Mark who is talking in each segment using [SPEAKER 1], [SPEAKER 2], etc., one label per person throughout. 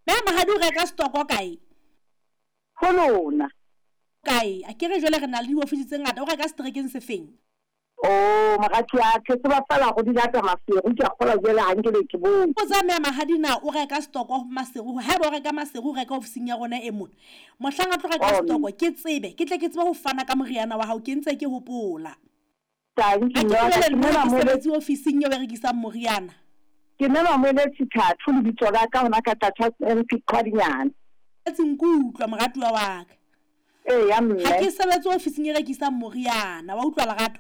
[SPEAKER 1] Mme Mahadi o reka stoko kae?
[SPEAKER 2] Ho lona.
[SPEAKER 1] Kae? Akere jwale re na le diofisi tse ngata, o reka seterekeng se feng?
[SPEAKER 2] Oh, moratiwa, ke tseba feela go di lata Maseru, ke a kgolwa jwale ha nke be ke bone.
[SPEAKER 1] Botsa Mme Mahadi na o reka stoko Maseru, haeba o reka Maseru o reka ofising ya rona e mona. Mohlang a tlo reka stoko ke tsebe, ke tle ke tsebe ho fana ka moriana wa hao, ke ntse ke hopola.
[SPEAKER 2] Thank
[SPEAKER 1] Ha
[SPEAKER 2] you,
[SPEAKER 1] ke
[SPEAKER 2] mme wa ka,
[SPEAKER 1] jwale
[SPEAKER 2] ke
[SPEAKER 1] nna
[SPEAKER 2] mme
[SPEAKER 1] ha ke
[SPEAKER 2] Mamoeletsi.
[SPEAKER 1] sebetse ofising eo e rekisang moriana.
[SPEAKER 2] Ke mme Mamoeletsi Thatho lebitso la ka hona ka Tlatshas MP Qhwadinyana.
[SPEAKER 1] Setse nkutlwa moratuwa wa ka.
[SPEAKER 2] Eya
[SPEAKER 1] Ha
[SPEAKER 2] mme.
[SPEAKER 1] ke sebetse ofising e rekisang moriana, wa utlwa Lerato?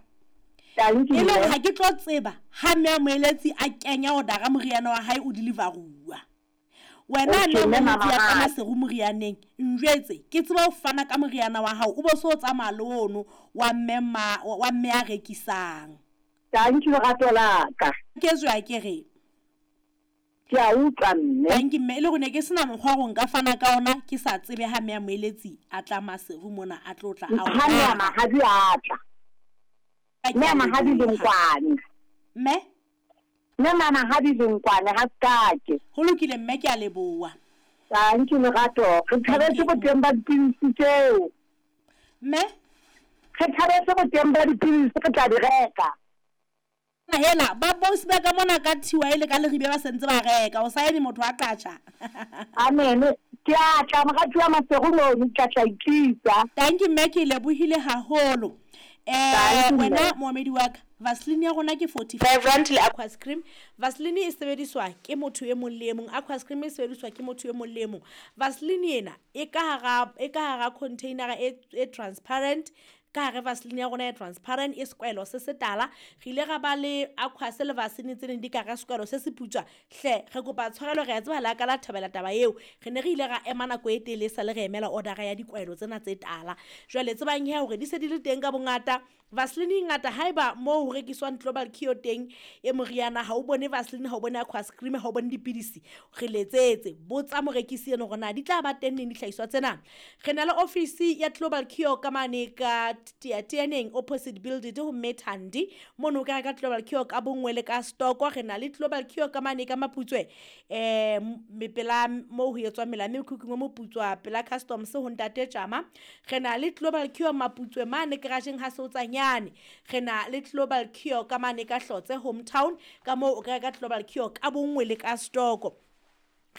[SPEAKER 2] Tanki
[SPEAKER 1] E le hore
[SPEAKER 2] mme.
[SPEAKER 1] ha ke tlo tseba ha mme a Moeletsi a kenya odara moriana wa hae o deliveruwa. Wena
[SPEAKER 2] Okay
[SPEAKER 1] mme
[SPEAKER 2] mme
[SPEAKER 1] Moeletsi ya ka
[SPEAKER 2] Mamahadi.
[SPEAKER 1] Maseru morianeng, njwetse ke tsebe ho fana ka moriana wa hao o bo so tsamaya le ono wa mme ma wa mme a rekisang.
[SPEAKER 2] Tanki lerato la ka.
[SPEAKER 1] Ke tswe akere.
[SPEAKER 2] Ke a utlwa mme.
[SPEAKER 1] Tanki mme, e le hore ne ke sena mokgwa wa hore nka fana ka ona ke sa tsebe ha mme a Moeletsi a tla Maseru mona a tlo tla a o
[SPEAKER 2] Ha mme a
[SPEAKER 1] reka.
[SPEAKER 2] Mahadi a tla.
[SPEAKER 1] Ke
[SPEAKER 2] Mme
[SPEAKER 1] a
[SPEAKER 2] a Mahadi
[SPEAKER 1] leboha.
[SPEAKER 2] Lenkwane.
[SPEAKER 1] Mme?
[SPEAKER 2] Mme ma Mahadi Lenkwane ha Sekake.
[SPEAKER 1] Ho lokile mme ke a leboha.
[SPEAKER 2] Tanki lerato. Re
[SPEAKER 1] Thank
[SPEAKER 2] thabetse
[SPEAKER 1] you.
[SPEAKER 2] boteng ba dipidisi tseo.
[SPEAKER 1] Mme?
[SPEAKER 2] Re thabetse boteng ba dipidisi re tla di reka.
[SPEAKER 1] Hela, ba bosi ba ka mona ka thiwa ele ka Leribe ba sentse ba reka. O sa eme motho a qatjha.
[SPEAKER 2] Amen. Ke a tla moratuwa Maseru mono ke tla tla itlisa.
[SPEAKER 1] Thank you mme ke lebohile haholo. Eh
[SPEAKER 2] Thank you
[SPEAKER 1] wena
[SPEAKER 2] mme.
[SPEAKER 1] moamedi wa ka, Vaseline ya rona ke 45 rand le Aquas cream. Vaseline e sebediswa ke motho e mong le e mong. Aquas cream e sebediswa ke motho e mong le e mong. Vaseline ena e ka hara e ka hara container e e transparent. Ka hare Vaseline ya rona e transparent e sekwahelo se setala. Re ile ra ba le Aquas le Vaseline tse neng di ka hara sekwahelo se seputswa. Hle re kopa tshwarelo re a tseba la ka la thabela taba eo. Re ne re ile ra ema nako e telele sa le re emela order ya dikwahelo tsena tse tala. Jwale tsebang he hore di se di le teng ka bongata. Vaseline e ngata haeba moo ho rekiswang Global Cure teng e moriana ha o bone Vaseline, ha o bone Aquas cream, ha o bone dipidisi. Re letsetse, botsa morekisi eno hore na di tla ba teng neng dihlahiswa tsena. Re na le ofisi ya Global Cure ka mane ka Teateaneng opposite building ho Mme Thandi. Mono o ka reka Global Cure ka bonngwe le ka stoko. Re na le Global Cure ka mane ka Maputswe pela moo ho etswang mela mekhukhung o moputswa pela customs ho Ntate Tjama. Re na le Global Cure Maputswe mane garageng ha Seotsanyane. Re na le Global Cure ka mane ka Hlotse hometown ka moo o ka reka Global Cure ka bonngwe le ka stoko.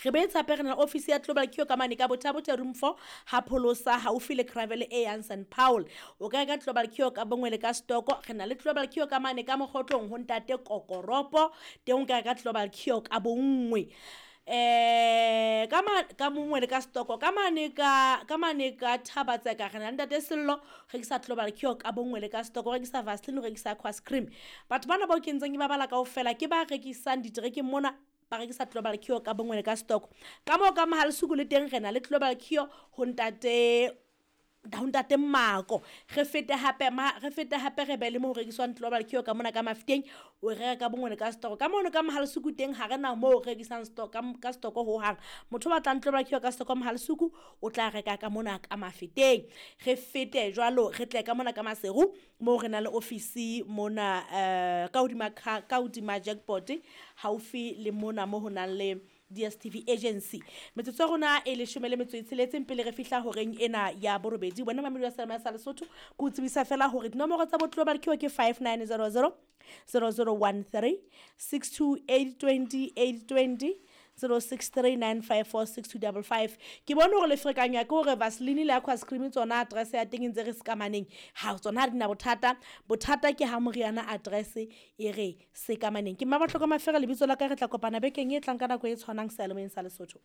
[SPEAKER 1] Re boetse hape re na le ofisi ya Global Cure ka mane ka Botha-Bothe room 4 ha Pholosa haufi le Gravel e yang St Paul. O ka reka Global Cure ka bonngwe le ka stoko. Re na le Global Cure ka mane ka Mokgotlong ho Ntate Kokoropo. Teng o ka reka Global Cure ka bonngwe. Ka ma ka bonngwe le ka stoko ka mane ka ka mane ka Thabatseka re na le Ntate Sello rekisa Global Cure ka bonngwe le ka stoko, rekisa Vaseline, rekisa Aquas cream. Batho bana bao ke ntseng ke ba bala kaofela ke ba rekisang diterekeng mona ba rekisa Global Cure ka bonngwe le ka stoko. Ka moo ka Mohalasuku le teng re na le Global Cure ho Ntate ho Ntate Mako. Re fete hape ma re fete hape re be le mo ho rekiswang Global Cure ka mona ka Mafeteng o reka ka bonngwe le ka stoko. Ka mono ka Mohalasuku teng ha re na moo re rekisang stock ka stoko hohang. Motho o batlang Global Cure ka stoko Mohalasuku o tla reka ka mona ka Mafeteng. Re fete jwalo re tle ka mona ka Maseru moo re na le ofisi mona ka hodima ka hodima jackpot haufi le mona mo ho nang le DSTV agency. Metsotso ya rona e 16 pele re fihla horeng ena ya borobedi. Wena mamedi wa Seyalemoya sa Lesotho, ke o tsebisa fela hore dinomoro tsa bo Global Cure ke 5900 0013 628 20 820 0639546255. Ke bone hore le ferekanywa ke hore Vaseline le Aquas cream tsona address ya teng e ntse re sekamaneng. Ha tsona ha di na bothata. Bothata ke ha moriana address e re sekamaneng. Ke Mmabohloko Mafere lebitso la ka, re tla kopana bekeng e tlang ka nako e tshwanang Seyalemoyeng sa Lesotho.